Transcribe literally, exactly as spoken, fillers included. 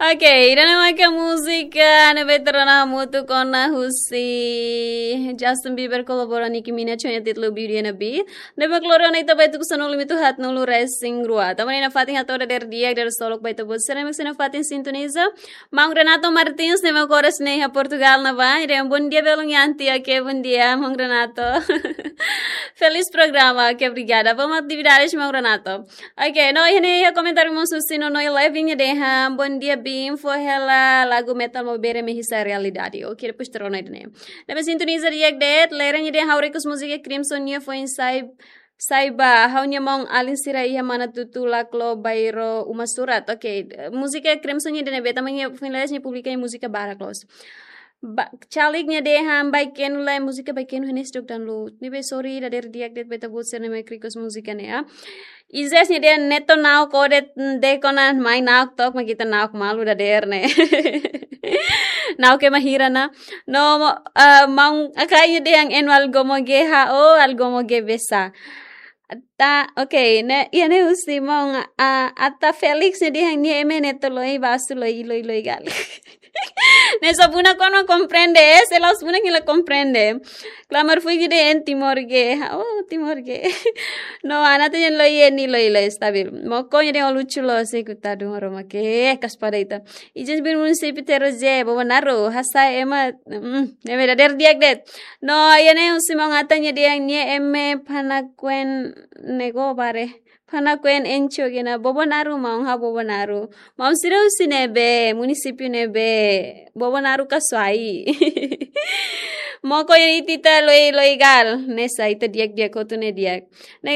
Oke, ida-ne'e maka múzika ne'ebé tuur ona hamutuk ona husi Justin Bieber kolabora Nicki Minaj ho nia títulu Beauty and the Beast. Ne'ebé mak lori ona ita ba iha tuku sanulu-hitu haat-nulu resin rua. Tanba ne'e nafatin hato'o dadeer di'ak, dadeer solok ba ita-boot sira ne'ebé mak sei nafatin sintoniza. Maun Renato Martins ne'ebé mak oras ne'e iha Portugal ne'ebá. Ida-ne'e bom dia belum yanti. Oke, bom dia, maun Renato. Feliz programa. Oke, obrigada. Vamos atividades, maun Renato. Oke, no, iha ne'e iha komentáriu mós husi Nono Eleven nia dehan, bom dia Bim, fó hela lagu Metal Maubere Mehisa Realidade. Oke, depois tuur ona ida-ne'e. Ne'ebé sintoniza di'ak de'it, Leren nia dehan ha'u request múzika Crimson nia foin sai, sai ba, ha'u-nia maun-alin sira iha Manatuto, Laclo, Bairro, Uma Surat. Oke, múzika Crimson nia ida-ne'ebé, tanba nia foin lais nia publika nia múzika barak loos. Ba, Calik nia dehan Baikenu lae, múzika Baikenu hanesan dok dan lu. Ne'ebé sorry, dadeer di'ak de'it ba ita-boot sira ne'ebé mak request múzika ne'e, ah. Izes nia dehan Neto na'ok ode, de kona mai na'ok tok, mak ita na'ok malu dadeer ne'e. Na'ok ema hira ona. No, mo, ah, maun Akai nia dehan enu algo moge ha, oh, algo moge besa. Ata, oke, ne'e, iha ne'e husi maun, ah, Ata Felix nia dehan nia ema Neto loi basu loi loi loi gal. Ne'e só bunak kuandu komprende, eh, se la'ós bunak nia la komprende. Klamar fui gide en Timor ge. Oh, Timor ge. No, anata yen loi yen ni loi loi stabil. Moko nia dehan lucu loos, se kutadu oro make, kas pada ita. Ijin bin munisípiu Terus je, Bobonaro, hasa'e ema, mm, ne'ebé dadeer di'ak de'it. No, iha ne'e husi maun Ata nia dehan nia ema Panakuan nego bare. Panakuan encho gena Bobonaro, maun, ha'u Bobonaro. Maun sira husi ne'ebé, munisípiu ne'ebé, Bobonaro ka Suai. Moko ita loi loi gal, ne'e sai ita di'ak di'ak hotu ne'e di'ak. Ne'e